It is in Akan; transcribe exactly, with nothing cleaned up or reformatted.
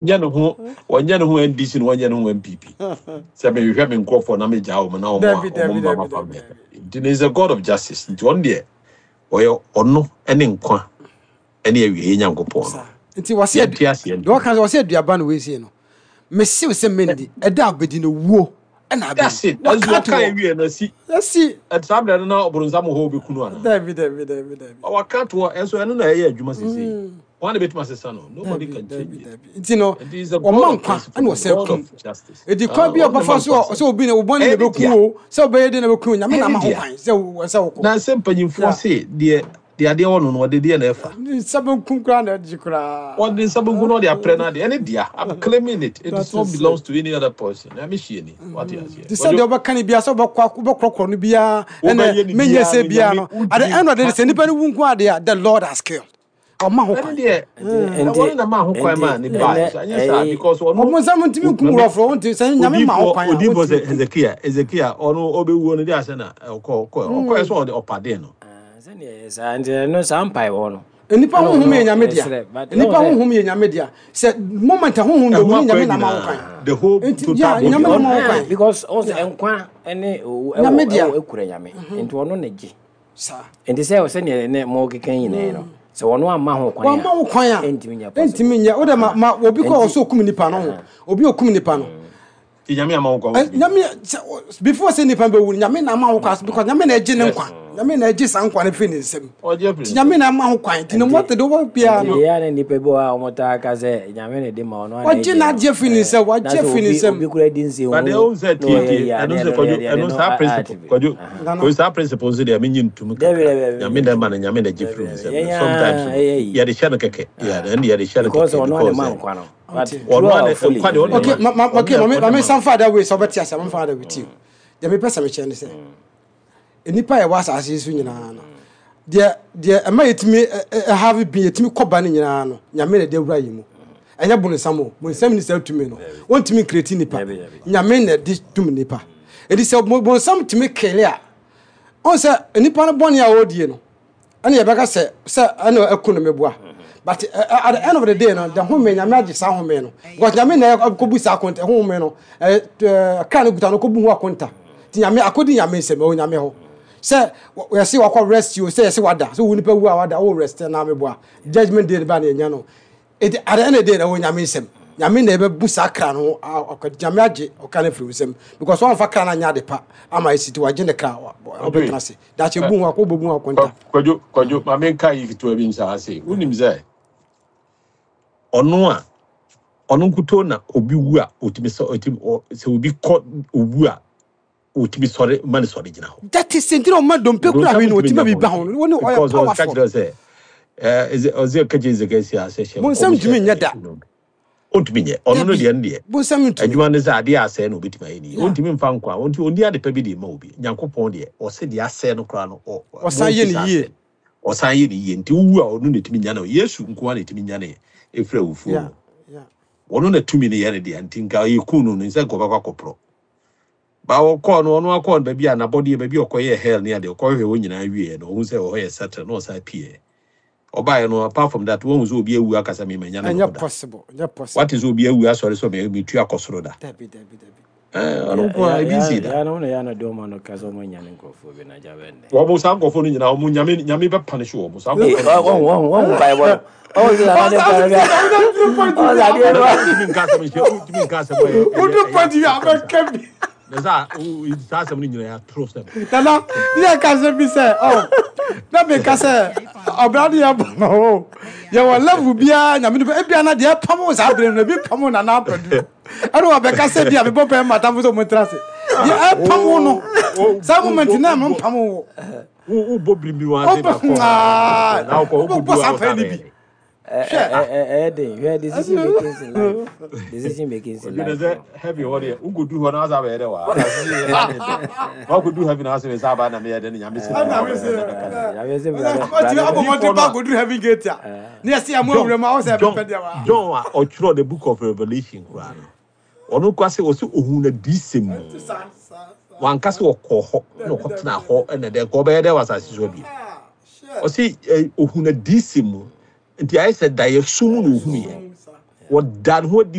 Wɔnyɛ ne ho wɔnyɛ ne ho N D C na wɔnyɛ ne ho N P P sɛ mehwehwɛ me nkurɔfoɔ na megyaa wɔn na wɔn Dabi, a dabi, wɔn mma dabi, ma dabi, family. Dabi. Nti no is a God of justice, nti ɔno deɛ, ɔyɛ ɔno ne nkwa ne awieeɛ Nyankopɔn no. Saa nti wɔsɛ Yɛnte aseɛ deɛ ntom. wɔka sɛ wɔsɛ aduaba no wei sei no, mesew sɛ mendi ɛda a wobɛdi no wuo ɛna That's abɛwu. it. Waka Ɛnso ato wɔka hɔ. awie no asi. Asi. Saa berɛ no na ɔboronsam wɔ hɔ a wobɛku no anaa? Dabi, dabi, dabi, dabi. Waka to hɔ, ɛnso ɛno na ɛyɛ adwuma sesei. Wɔn na bɛtumi asesa no? Nobody Dabi, can dabi, change it. Dabi. Nti no nti he's a ɔma God of nkwa principle ɛna and ɔsɛ God kum of justice. ɛdi Ah, kwan bi a ɔno na ɔbɛfa ma so nkwa a sɛ sɛ obi na wobɔne na ɛyɛ ne ɛbɛku dea. o, sɛ wobɛyɛ den na ɛbɛku o, Nyame Ɛyɛ na ne ama ho dea. kwan sɛ wo- sɛ wokɔ. Na sɛ mpanyimfoɔ Yeah. se deɛ deɛ adeɛ wɔ no no ɔde deɛ na ɛfa. Ne nsa bɛnkum koraa na ɛgye koraa. Ɔde nsa benkum na ɔde aprɛ no adeɛ ɛne dea. I'm claiming it. It That is not is belongs it. to any other person. Na mehyie ni wate aseɛ. Te sɛ Kwadwo deɛ wobɛka no biara sɛ wobɛkɔ wobɛkorɔkorɔ no biara ɛnɛ wobɛyɛ ne menyɛ biara sɛ no biara Nyame no, at the wontumi end of the day nka sɛ nnipa no wu nko adeɛ a, the Lord has killed, ɔma ho ɛne kwan. deɛ Nti ɛwɔ no na ma ho kwan nti ma ne ɛnɛ bae so anyɛ saa ɛyi because ɔno Ɔmo nsɛm ntumi nkum mame wurɔfoɔ wonti sɛ Nyame ma ho odiifoɔ kwan a odiifoɔ wontumi sɛ nkum. Hezekia Hezekia ɔno ɔbɛwuo no de asɛ na ɔkɔ ɔkɔ ɔkɔɛ sɛ ɔde ɔpaden no. Ah, sɛdeɛ ɛyɛ saa nti ɛno saa mpaebɔ no Nnipa ɛna honhom ɔno yɛ Nyame dea. yɛsrɛ, but Nnipa ɛwɔ sɛ honhom yɛ Nyame dea. Sɛ moment a honhom ɛho bɛwu no, akwan Nyame na ma ho kwan. nyinaa, the whole Nti total ya body Nyame na ɔno ma ho ah, kwan. Because ɔn sɛ Ya nkwa ɛne owu Nyame ɛwɔ dea. ɛwɔ ekura Nyame, nti ɔno na gye. Saa. Nti sɛ sɛdeɛ ne mo keka nyinaa no, sɛ ɔno amma ho kwan wama a wo kwan a ɛntumi nyɛ possible. Ɛntumi nyɛ wode ma ma obi kɔ Nti ɔsɛ okum nipa no ho, obi okum nipa no. Nti Nyame ama wo kwan Ɛ, wontumi Nyame sɛ o- before sɛ nipa bɛwu no, Nyame na ama ho kwan because Nyame na ɛgye ne yes nkwa, Nyame na ɛgye saa nkwa no firi ne nsam. Ɔgye afiri Nti ne Nyame nsam. na ama ho kwan, nti no Nti mɔte de wɔ biara nti no deɛ a na nipa bi wɔ hɔ a wɔn ka sɛ Nyame na ɛde ma ɔno ana wagye ɛgye no n'agye firi ne ɛɛ nsam na wagye sɛ firi ne obi nsam. Obi kura di nse But deɛ hu wohu sɛ na ɔyɛ tietie yi a ɛno ne sɛ ɛno no Kwadwo yɛde ɛde ɛno no saa principle ate bi. Kwadwo Nana. Kwadwo, saa principle nso deɛ menye ntom Dabi, kakra. dabi, Nyame menye na ɛma ntom. no, Nyame na gye Dabi, firi wo dabi. nsam Yɛn no sometimes a no ɛyɛ yi. yɛde hyɛ no kɛkɛ. Yeah, ɛno deɛ yɛde hyɛ no Because kɛkɛ ɔno ane because ma sɛ nkwa no, but Ɔnte. ɔno true ane or fully nkwa deɛ ɔno na Okay, ma ma ma ɔno okay na ma me ɔno ma na me ma san nkwa. fa that way sɛ ɔbɛte ase, ma fa that way tie. Deɛ mepɛ sɛ mekyerɛ ne sɛ nnipa a yɛwɔ asase yi so nyinaa no, deɛ deɛ ɛma yɛtumi ɛhave bi yɛtumi kɔ ba no nyinaa no, Nyame na ɛde awura yi mu, ɛnyɛ bonsam o. Bonsam ni saa tumi no, wɔntumi ncreate nipa. Dabi, dabi. Nyame na ɛde tum nipa. Ɛdi sɛ bo- bonsam tumi kill a, ɔn sɛ nipa no bɔne a ɔredie no ɛne yɛbɛka sɛ sɛ ɛna ɛku no meboa, but uh, at the end of the day no, the home Nyame agye saa home no because Nyame na ɛkɔbu saa akonta home no, ɛɛ kra no kuta no kɔbu ho akonta. Nti Nyame akɔdi Nyame nsɛm ɛwɔ Nyame hɔ sɛ yɛse wakɔ rest o, sɛ yɛse wada, sɛ wo nipa wu a wada wo rest na meboa, judgment day no ba na yɛnya no. Enti at the end of the day na ɛwɔ Nyame nsɛm, Nyame na ɛbɛbu saa kra no ho a- ɔkɔ- Nyame agye ɔka no afiri wo nsɛm because wɔamfa kra no anyɛ ade pa ama ɛsi, nti wagye ne kra, Ɔdwe ɔbɛtena ase daakye bu ho akɔ bɛbu ho akonta. Kwadwo Kwadwo, ma menka yi ketewa bi nhyɛ ase. Wonim sɛ ɔno a ɔno nkuto na obi wu a ɔtumi sɛ ɔtumi ɔ- sɛ obi kɔ owu a ɔtumi sɔre ma ne sɔre gyina hɔ. That is nti na ɔma dompe kura Bonsam hwee no ntumi ɔtumi nyɛ biribi ho ho no wɔne ɔyɛ because ɔka powerful. kyerɛ sɛ ɛɛ Eze- ɔsɛ ɔka kyerɛ Ezekiel sɛ hyɛ Bonsam nkɔm ntumi hyɛ nyɛ da. ɛyi no ɔntumi nyɛ ɔno no Dabi, deɛ no deɛ bonsam ntumi. Adwuma no sɛ adeɛ a asɛe no ɔbɛtumi ayɛ ne yie. Yeah. Ɔntumi mfa nkwa ɔnti ɔndi ade pa bi de ma obi. Nyankopɔn deɛ, ɔsɛ deɛ asɛe no koraa no ɔ- ɔ- Ɔsan yɛ momfi ne saa yie. asɛe no ɔsan yɛ ne yie. Nti wowu a, ɔno na ɛtumi nyane wo. Yesu nko ara na ɛtumi nyane ɛfiri awufuo Yeah, mu. yeah. Ɔno na tumi no yɛ ne deɛ, nti nka yɛku no no nsɛ nka ɔbɛkɔ akɔporɔ ba ɔkɔɔ no, ɔno akɔɔ no baabi a n'abɔdeɛ baabi a ɔkɔyɛɛ hell ne adeɛ ɔkɔhwehwɛ hɔ nyinaa wieɛ no, ɔhu sɛ ɔhɔ yɛ settle na ɔsan pieɛ ɔbaeɛ no. Apart from that, wɔhu sɛ obi awu akasa memanya ne me ho Ɛnyɛ da. possible, ɛnyɛ possible. Wate sɛ obi awu asɔre sɛ me- metu akɔ soro da? Dabi, dabi, dabi. Ɛɛ, ɔno nko a ebi nsi da. Ya no na ya na de ɔma no ka sɛ ɔmo nyane nkurɔfoɔ bi na gya bɛn dɛ. Wɔn saa nkurɔfoɔ no nyinaa, wɔn nyame nyame bɛ punish wɔn saa Ee, nkurɔfoɔ no wɔn nyinaa. wɔn wɔn mpaebɔ no ɔwɔ sɛ nana de mpaebɔ bi a ɔwɔ sɛ adeɛ no Nana, wontumi nka asɛm nhyɛ, wontumi nka asɛm a ɛyɛ ɛyɛ Wodu ɛyɛ point bi a atorosɛm saa. bɛka bi. Na saa wo- saa asɛm no nyinaa yɛ atorosɛm. Nana ne yɛ ka sɛ bi sɛ ɔ na meka sɛ ɔbra de yɛ bɔ no o, yɛwɔ level biara Nyame no ebia na deɛ ɛpam wo saa bere no ebi pam wo nana apɛdu ɛne wɔbɛka sɛ bi a mebɔ pɛ matamfo sɛ ɔmo ntena ase deɛ ɛpam wo no wo saa wo moment wo na wo mpam wo. wo wobɔ biribi wɔn ase na kɔ Wobɔ na wokɔ wobɛbɔ wokɔdu saa a pɛ wosa no bɛyɛ bi. dɛ. Hwɛ. Ɛyɛ den. Hwɛ, decision making in life, decision making in Ɔdwene life sɛ no heaven hɔ deɛ, wokɔdu hɔ na wasa bɛyɛ dɛ wɔ asase yɛ yɛ ne dɛ wakɔdu heaven na asɛ sɛ aba na meyɛ dɛ no Nyame sɛ Ɛna bra me sɛ bɛka dɛ Nyame sɛ bra bɛ bra ɔtumi bɛ abɔ mmɔden odiifoɔ pa no a akɔduru heaven gate a ne yɛsɛ yɛ mo John awura mu a wo sɛ John ɛbɛpɛ deɛ wa John a ɔtwerɛ the Book of Revelation koraa no, ɔno koraa sɛ ɔsɛ ohun na diisɛm mu. Ɛnti saa saa saa. Wanka sɛ ɔkɔɔ hɔ na Dabi, dabi, ɔkɔtena dabi. hɔ ɛna dɛ nka ɔbɛyɛ dɛ wɔ asase so bio. Ah, hwɛ. Ɔsɛ ohun na diisɛm mu, nti ayɛ sɛ daeɛ so mu na ohun yɛ. Sum saa. Wɔda ne ho adi.